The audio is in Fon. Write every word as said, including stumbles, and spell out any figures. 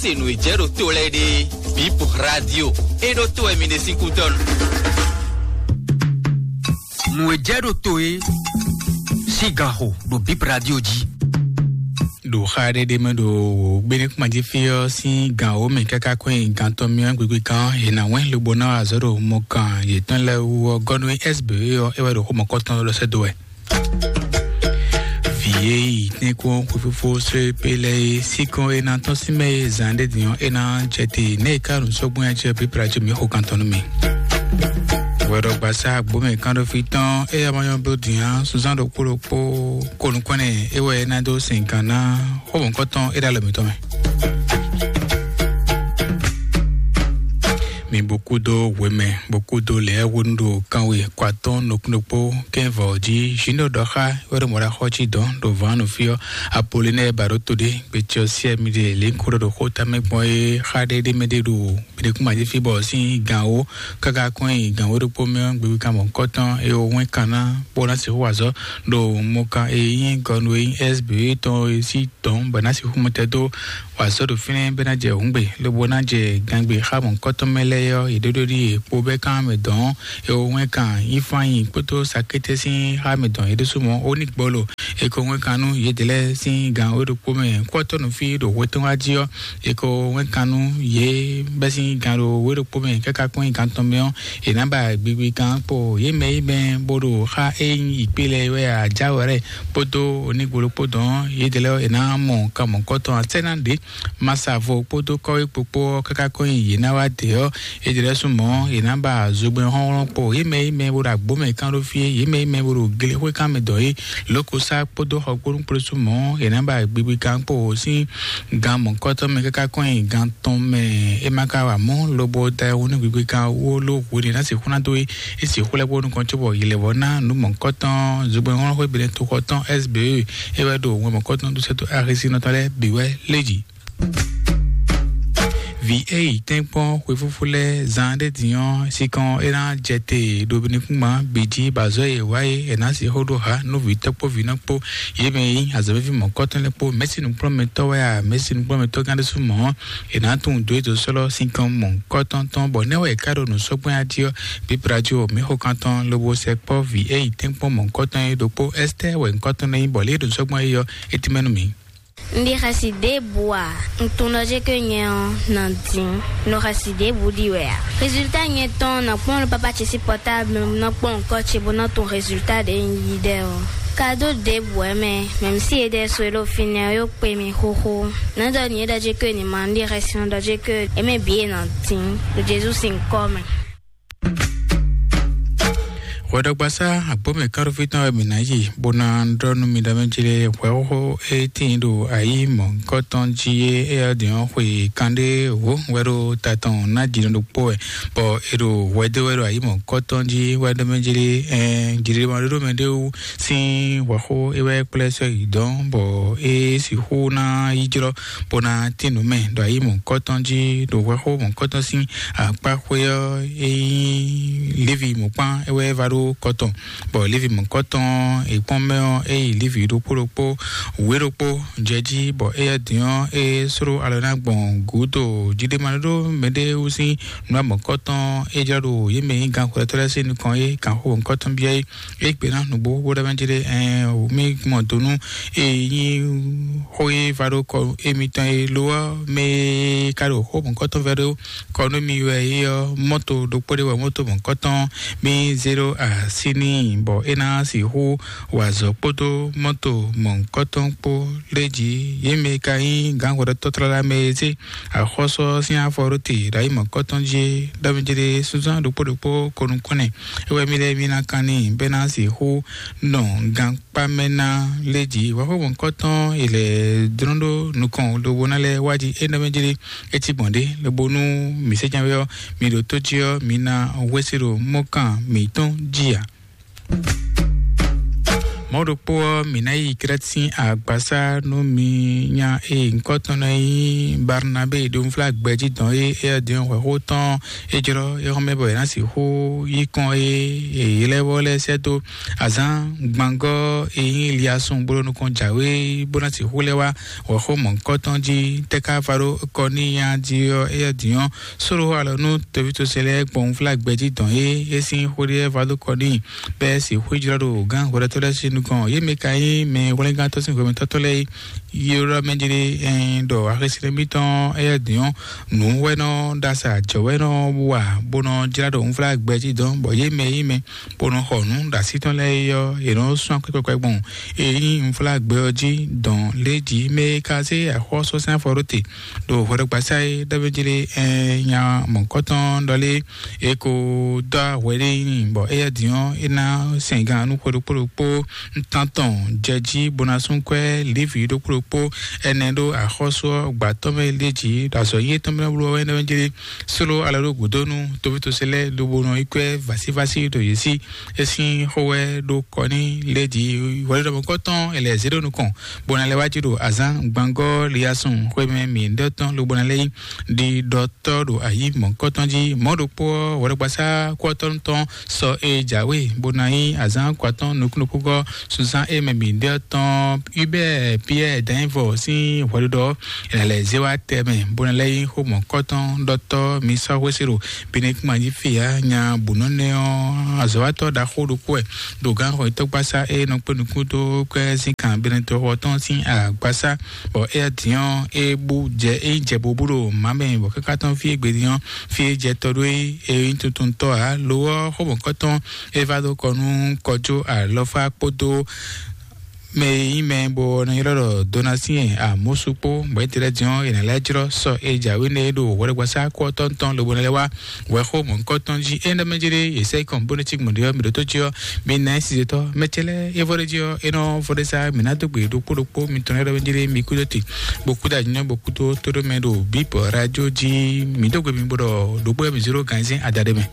Se nǔ e jɛ ɖo to lɛ́ɛ ɖe, Bip Radio, e ɖo to wɛ mi ɖe sín kútɔ́ nu. Nǔ e jɛ ɖo to e sín ganxo ɖo Bip Radio jí. Ɖo xa ɖé ɖé mɛ ɖo wǒ gbénúkpán jí fí ɔ́ sín gan wǒ mɛ káká kɔn nyi gan tɔn mì ɔ́ gbigbi kan ɔ́, è nǎ wɛ́n lobo ná wa azɔ̌ ɖo mɔkan yětɔn lɛ́ɛ wú ɔ́, gɔ́nú S B E ɔ́, é wɛ ɖo xó mɔ̌kɔtɔn lɔ sɛ́ dó wɛ. Vǐ e yi tɛ́nkpɔ́n xwefífó srépé lɛ́ɛ é, síkɔ́n e ná tɔ́n sín mɛ e zǎn ɖé din ɔ́, é ná jɛ te nɛ́ e ká nǔ sɔ́gbɔn ya jɛ pípla jí mǐ xo kan tɔn nú mì. Hwɛɖɔgbasá agbǒmɛ kánɖófí tɔn é yá ma nyɔ́ bló din ǎ, sunzán ɖokpó ɖokpó ko nukɔn nɛ é wɛ é ná dó sin kan ná xó mɔ̌kɔtɔn é ɖo alɔ mǐtɔn mɛ. Mi bó kúdó hwemɛ, bó kúdó lɛ̌ hwenu ɖo kanwe kɔ atɔ́ɔ́n nukúnnukpó kɛ́nvɔ jí. Zǐn ɖo ɖɔ xá wɛ ɖo mɔ̌ ɖo axɔ́ cí dɔ̌n ɖo vǎn nú fí ɔ́. Apolinɛ́ɛ ba ɖó to ɖé, gbecɛ ɔ́ siɛ mi ɖe lě kó ɖɔ ɖo xó tamɛ gbɔn é xá ɖé ɖé mɛ ɖé ɖo mɛɖékúnmají fí bɔ sín gǎn wó káká kɔn nyi gǎn wó ɖokpó mɛ ɔ́, gbégbé kan mɔ̌kɔtɔn é wó wɛ́n kan ná bó ná sixú wa azɔ̌ ɖo mɔkan e nyí gɔnu e nyí S B tɔn é sí dɔ̌n bɔ é ná sixú mɔtɛn dó wǎ sɔ́ ɖo fínɛ́ bɔ é ná jɛ hǔngbe, lobo ná jɛ gangbe xá mɔ̌hunkɔtɔn mɛ lɛ́ɛ ɔ́, yě ɖó ɖó ɖíe kpo bɛ́ kán mɛ dɔn ɔ́, è wɔ wɛn kan Ifáyin kpódó Sakétɛ́ sín xá mɛ dɔn yě ɖésú mɔ̌ ó ní gbɔlo. È ko wɛn kan nú yědɛɛ lɛ́ɛ sín gan wé ɖokpó mɛ kú ɔ́ tɔ́ nǔ fí ɖo hwetɔ́n wá jí ɔ́, è ko wɛn kan nú yě bɛ́ sín gan ɖo wé ɖokpó mɛ káká kpɔ́n nyi gan tɔn mɛ ɔ́, è nǎ ba gbigbi kan kpo yě mɛ yi mɛ bó ɖo xá é nyí yǐkpé lɛ́ɛ wɛ ǎ, jáwɛ̌ kpódó onígbolo kpó dɔn yědɛɛ lɛ́ɛ è nǎ mɔ kan mɔ̌hunkɔtɔn ǎ. Sɛ́ ná ɖě Masavo kpódó kɔ́wé kpokpó ɔ́ káká kɔn nyi yě ná wá dě ɔ́, é jɛ lɛ́ sú mɔ̌, yě ná ba zogbɛ́n hlɔ́nhlɔ́n kpo yě mɛ yi mɛ bó ɖo agbǒ mɛ kán ɖó fí é, yě mɛ yi mɛ bó ɖo glexwé kán mɛ dɔn é, lǒkosá kpódó xɔ kpó nú kplé sú mɔ̌, yě ná ba gbigbi kán kpo sín gan mɔ̌kɔtɔn mɛ káká kɔn nyi gan tɔn mɛ. É ma ka wa mɔ̌ lobo da ɛ wú nú gbigbi kan wú ó ló hwenu e ná sixú ná dó é, é sixú lɛ́ kpó nukɔn cóbɔ yě lɛ́ vɔ ná nǔ mɔ̌kɔtɔn zogbɛ́n hlɔ́nhlɔ́n xwé Benin toxɔ tɔn S B E, é wɛ ɖo wɛn mɔ̌kɔtɔn dó sɛ́ dó axisínɔ tɔn lɛ́ɛ bǐ wɛ lé jǐ. Vǐ e yi tɛ́nkpɔ́n xwefúfú lɛ́ɛ zán ɖé din ɔ́, sinkɔn é ná jɛ te ɖo nukúnma bǐ jí, bɔ azɔ̌ e è wa é è nǎ sixú ɖó ha nú vǐ tɔ́ kpó vǐ nɔ kpó, yě mɛ e nyí azɔ̌mɛví mɔ̌kɔtɔn lɛ́ɛ kpó. Mɛ̌si nǔkplɔ́nmɛtɔ́ wɛ a, mɛ̌si nǔkplɔ́nmɛtɔ́ gán ɖésú mɔ̌, è nǎ tunwun dǒ e dǒ sɔ́lɔ́ sinkɔn mɔ̌kɔtɔn tɔn, bɔ nɛ́ wɛ è ká ɖo nǔ sɔ́ gbɛn jí ɔ́, bǐ Braɖo mǐ xo kan tɔn lobo sɛ kpɔ́ vǐ e yi tɛ́nkpɔ́n mɔ̌kɔtɔn é ɖokpó Ɛstɛ́ wɛ nyǐkɔ tɔn lɛ́ nyí, bɔ lě e ɖo nǔ sɔ́ gbɛn é ɔ́, é tínmɛ nú mǐ. Un ɖi xɛsi ɖěbǔ ǎ. Un tunwun ɖɔ jé ke nyɛ ɔ́ nǎ dín, un ɖo xɛsi ɖěbǔ ɖi wɛ ǎ. Rezulta nyɛ tɔn nɔ kpɔ́n ɖo papa ce sín pɔtáblu, nɔ kpɔ́n ŋkɔ ce bó nɔ tunwun rezulta ɖě un yí ɖɛ ɔ́. Kado ɖěbǔ wɛ mɛ, mɛ̌mísí yědɛɛ so e ɖo fínɛ́ ɔ́ yó kpe mì xóxó. Nǎ ɖɔ nǔ e ɖɔ jé ke ní ma un ɖi xɛsi nɔ ɖɔ jé ke é mɛ bǐ e nɔ dín ɖo Jezu sín ŋkɔ mɛ. Hwɛɖɔgbasá agbǒmɛ kánɖófí tɔn wɛ mǐ ná yi, bó ná ɖɔ nú mi ɖɔ mɛ jí lé hwɛxóxó e tíin ɖo ayǐ mɔ̌hunkɔtɔn jí é, éyɛ́ din ɔ́ xwe kanɖé wǒ wɛ ɖo ta tɔn ná jǐnɔ ɖokpó wɛ, bɔ è ɖo hwɛ dó wɛ ɖo ayǐ mɔ̌hunkɔtɔn jí wɛ ɖɔ mɛ jí lé, ɛɛ, jǐɖéɖémaɖóɖó mɛ ɖé wú sín hwɛxó é wɛ kplá sɔ́ yi dɔn, bɔ é sixú ná yi jlɔ́ bó ná tín nǔ mɛ ɖo ayǐ mɔ̌hunkɔtɔn jí ɖo hwɛxó mɔ̌hunkɔtɔn sín akpá xwé ɔ́, é nyí Levi mɔ̌kpán é wɛ va ɖó kɔ tɔn, bɔ Levi mɔ̌kɔtɔn e kpɔ́n mɛ ɔ́, é yi Levi ɖokpó ɖokpó wě ɖokpó jɛ jí, bɔ éyɛ́ din ɔ́, é sló alɔ ná gbɔn gǔdo jǐɖémaɖóɖó mɛɖé wú sín nǔ mɔ̌kɔtɔn é jlá ɖo yě mɛ nyí gan xwlɛtɔ́ lɛ́ɛ sín nukɔn é kan xó mɔ̌kɔtɔn byɔ́ é. É gbe ná nǔgbó bó ɖɔ mɛ jí ɖé, ɛɛ, mí gbɔn do nú e nyí xó e va ɖó kɔ émítɔn e lo ɔ́ mɛ e ka ɖo xó mɔ̌kɔtɔn vɛ ɖó kɔ nú mi wɛ é ɔ́, mɔ́to ɖokpó ɖé wɛ mɔ́to mɔ̌kɔtɔn mí zé ɖó así n'i, bɔ é ná sixú wa azɔ̌ kpódó mɔ́to mɔ̌kɔtɔn kpó lé jí. Yě mɛ ka nyí gǎnhwɛɖɔtɔ́ tlala mɛ e zé axɔ́sú ɔ́ sín afɔ ɖó te ɖo ayǐ mɔ̌kɔtɔn jí é, ɖɔ mɛ jí ɖé súnzán ɖokpó ɖokpó ko nukɔn nɛ. É wɛ mí lɛ́ɛ mí ná kan n'i bɔ é ná sixú nɔ gankpá mɛ ná lé jí. Hwɛxó mɔ̌kɔtɔn è lɛ̌ dlɔ́n ɖó nukɔn lobo ná lɛ́ wá jí é nɔ mɛ jí ɖé é cí gbɔn ɖé, lobo nú mǐ sɛ́ ján wɛ ɔ́, mǐ ɖo tó jí ɔ́, mǐ ná hwesí ɖo mɔ́kan mǐtɔn jí ǎ. Mɔ̌ ɖokpó ɔ́, mǐ ná yi Krɛ́t sín agbasá nú mi nya e nyǐkɔ tɔn nɔ nyí Barnabé ɖo nflá gbɛjí dɔn é, éyɛ́ din ɔ́, hwɛ̌xó tɔn é jlɔ́ é xɔ́mɛ bɔ è nǎ sixú yí kɔn é, è ylɛ́ vɔ lɛ́ɛ sɛ́ dó azǎn gbangɔ́ e nyí Liasɔn bó ɖo nukɔn jǎwe bó ná sixú lɛ́ wá hwɛ̌xó mɔ̌hunkɔtɔn jí. Tɛ́ ká va ɖó kɔ n'i nya jí ɔ́, éyɛ́ din ɔ́, sóɖó alɔ nú toví tosɛn lɛ́ɛ gbɔn nflá gbɛjí dɔn é, é sín xó ɖé va dó kɔ n'i bɛ́ sixú jlɔ́ ɖo gǎn hwɛɖɛtɔ́ lɛ́ɛ sín nukɔn. Yě mɛ ka nyí mɛ hwlɛ́ngántɔ́ sín hwemɛtɔ́tɔ́ lɛ́ɛ é. Yé ɖɔ mɛ jlé ɛn ɖɔ axésinɛ́ mitɔn éyɛ́ din ɔ́, nǔ wɛ nɔ ɖo asa jɔ̌ wɛ nɔ wa bó nɔ jlá ɖo nflá gbɛjí dɔn, bɔ yě mɛ yí mɛ bó nɔ xɔ nǔ ɖo así tɔn lɛ́ɛ é ɔ́, yě nɔ sún akwɛ́ kpɛkpɛ gbɔn. Ényí nflá gbɛ ɔ́ jí dɔn lé jí mɛ e ka zé axɔ́súzán fɔ ɖó te ɖo hwɛɖɔgbasá é ɖɔ mɛ jlé ɛn nya mɔ̌kɔtɔn ɖɔ lé. E ko dó ahwɛ ɖé nyi, bɔ éyɛ́ din ɔ́, é ná sɛn gan nú xwe ɖokpó ɖokpó. Ntantɔn jɛ jí bó ná sún kwɛ́ Livi ɖokpó ɖokpó ɛnɛ ɖó axɔ́sú ɔ́ gbǎtɔ́ mɛ lé jí ɖo azɔ̌ yí étɔn mɛ bló wɛ nɛ́ jlé. Sóló alɔ ɖó gǔdo nú tovítɔ́sɛ lɛ́ɛ lobo nɔ yi kwɛ́ vásívásí ɖo yě sí. É sín xó wɛ ɖó kɔ ní lé jí hwɛɖɔmɔkɔ́tɔn è lɛ̌ zé ɖó nukɔn, bó ná lɛ́ wá jí ɖo azǎn gbangɔ́ Liasɔn xwé mɛ mǐ ɖɔ tɔn lobo ná lɛ́ yí ɖi ɖɔ tɔ́ ɖo ayǐ mɔ̌hunkɔtɔn jí. Mɔ̌ ɖokpó ɔ́, hwɛɖɔgbasá kú ɔ́ tɔn sɔ e jǎwe, bó ná nyí azǎn kɔ atɔ́ɔ́n nukúnnukúngɔ́ sunzán e mɛ bǐ ɖe ɔ́ tɔn Hubert Pierre Danyivɔ sín hwɛɖiɖɔ ɔ́, è nǎ lɛ́ zé wá tɛmɛ, bó ná lɛ́ nyí xó mɔ̌hunkɔtɔn ɖɔtɔ́ mi sɔ́ xwésí ɖo Benin kúnma jí fě ǎ. Nya bǔ nɔ nɛ́ ɔ́, azɔ̌watɔ́ ɖaxó ɖokpó wɛ ɖo gǎnxɔyítɔ́gbasá e nɔ kpé nukún dó kwɛ́ sín kan Benin tɔxɔ tɔn sín agbasá. Bɔ éyɛ́ din ɔ́, é bú jɛ é jɛ bobú ɖo mǎ mɛ, bɔ káká tɔn fí e gbe din ɔ́, fí e jɛ tɔ ɖó é, é nyí tuntuntɔ́ ǎ. Lo ɔ́, xó mɔ̌kɔtɔn é vá dó kɔ nú kɔjó alɔfá kpódó mɛ e nyí mɛ bó nɔ ylɔ́ ɖɔ Donatien Amosu kpó, bɔ é tlɛ din ɔ́, è nǎ lɛ́ jlɔ́ sɔ e jǎwe nɛ é ɖo hwɛɖɔgbasá kú ɔ́ tɔn tɔn lobo ná lɛ́ wá hwɛxó mɔ̌hunkɔtɔn jí. É nɔ mɛ jlé yě sɛ́ kɔn bó nɔ cí gbɔn ɖe ɔ́, mi ɖo tó jí ɔ́, mi ná ɛ sizetɔ mɛ cɛ lɛ́ɛ é vɔ ɖé jí ɔ́, é nɔ vɔ ɖé sá mi ná dó gbe ɖokpó ɖokpó mi tɔn lɛ́ɛ ɖɔ mɛ jlé mi kú dó te, bó kú dó anyɔ bó kú dó tó ɖó mɛ ɖo bíbɔ radio jí. Mi dó gbe mi bó ɖɔ ɖokpó mi zéro ganzɛ́n adaɖé mɛ.